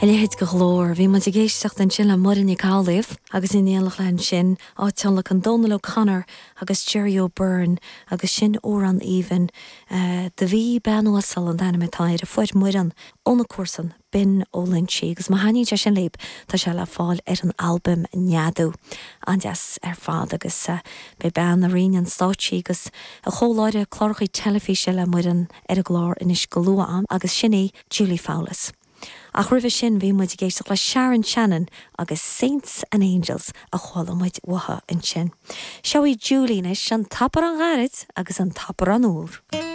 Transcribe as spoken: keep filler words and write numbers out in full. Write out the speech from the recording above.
A leithéid de ghlór, bhí muid ag éisteacht ansin le Muireann Nic Amhlaoibh agus in éineacht léi ansin á tionlacan Donal O'Connor agus Jerry O'Byrne agus sin amhrán aoibhinn Do bhí bean uasal an t-ainm atá air a fuair Muireann óna comharsan Binn Ó Loingsigh agus má thaitníonn sé sin libh tá sé le fáil ar an albam Neadú an-deas ar fad agus beidh bean a roinn an stáitse agus a chomhláithreoir cláracha teilifíse le Muireann ar an gclár anois go luath agus sin í Julie Fowlis. Ach roimhe sin bhí muid ag éisteacht le Sharon Shannon agus Saints and Angels a chuala muid uaithi ansin. Seo í Julie anois an t-arán gairid agus an t-arán úr.